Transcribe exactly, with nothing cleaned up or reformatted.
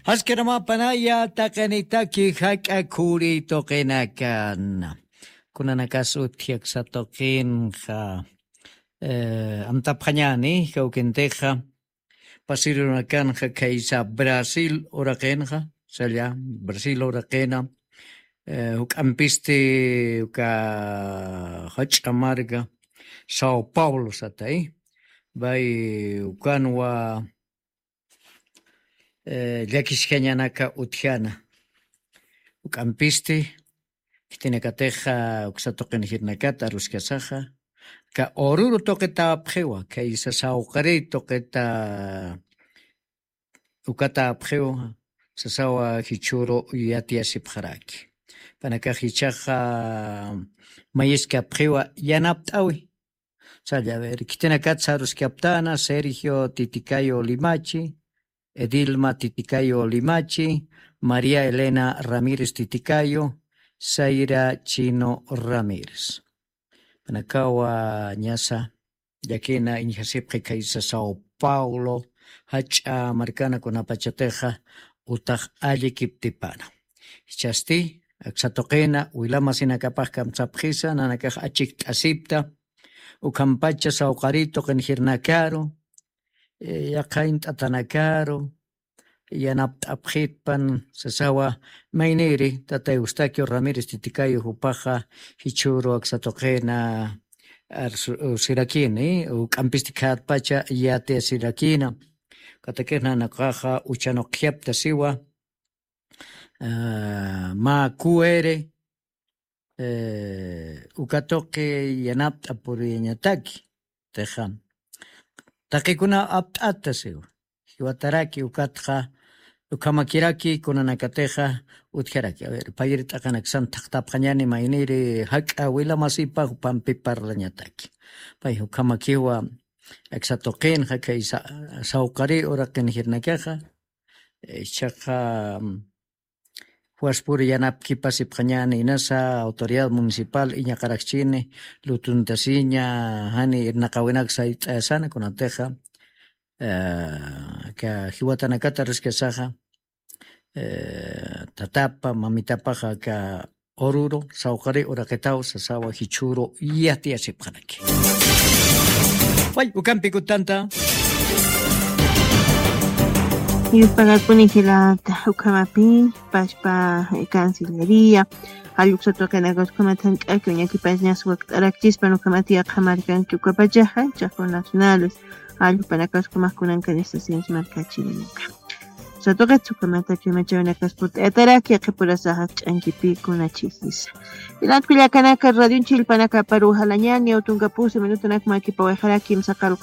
Jaskiramapanaya taqinitaki jak'a khuri tuqinakan. Kunanakas utji aksa tuqinxa, eh, amtapxañani, kawkintixa, pasirunakanxa khaysa Brasil uraqinxa, salla, Brasil uraqina, eh, juk'ampisti uka jach'a marka, Sao Paulo satay, bay ukanwa, eh, llakisjañanaka utjana. Juk'ampisti, khitinakatixa, uksa tuqin jirnakata aruskasaxa, ka ururu tuqitapxiwa, khaysa sawqari tuqita ukatapxiwa, sasawa jichhüru yatiyasipxaraki. Panakax jichhaxa mayiskapxiwa yanapt'awi. Salla, a ver, khitinakat saruskaptana, Sergio Titicayo Limachi, Edilma Titicayo Limachi, María Elena Ramírez Titicayo, Zaira Chino Ramírez. Panakawa ñasa, llakina iñjasipxi khaysa Sao Paulo, jach'a markana kunapachatixa, utax allikiptipana. Jichhasti, aksa tuqina, wilamasinakapax kamsapxisa, nanakax achikt'asipta, ukhampacha sawqari tuqin jirnakaru, eh, yaqha int'atanakaru, yanapt'apxitpan, sasawa, mayniri, tata Eustaquio Ramírez Titicayo jupaxa, jichhüru aksa tuqina, arsu-, sirakini, juk'ampisti khayatpacha yatiyasirakina, katakix nanakaxa, uchhanuqjapta siwa, ah, mä kuere, eh, uka tuqi yanapt'a puriyañataki, tixa. Taqikuna apt'ata siwa. Jiwataraki ukatxa, ukhamakiraki kunanakatixa utjaraki. A ver, payri t'aqanaksan thaqtapxañani mayniri jak'a wilamasipa jupampi parlañataki. Pay ukhamakiwa aksa tuqinxa, khaysa, sawqari uraqin jirnakaxa, eh, jichhaxa, mm, Juaspuri yanapkipasipxañani inasa autoridad municipal iñaqarakchini, lutuntasiña, jani irnaqawinak sayt'ayasana kunatixa, eh, aka jiwatanakata aruskasaxa, eh, tatapa, mamitapaxa aka ururu, sawqari uraqitaw, sasawa jichhüru yatiyasipxaraki. Way, ukampi kutanta. Yupagakuni jilata, ukhamapi, pachpa, eh, cancillería, jall uksa tuqinakas ukhamat jank'aki uñakipañas wakt'arakchispan ukhamat yaqha markanki ukapachaxa, chaqru nacionales, jall jupanakas ukhamat kunankan estaciones markachirinaka. Uksa tuqit ukhamat ch'amachawinakas purt'ayataraki, yaqhipurasaxa ch'ankipï kunachixisa. Jilat kullakanaka, radionchi jilpanakaparu jalañani, utunkapusi minutunak makipawayxaraki, imsaqaru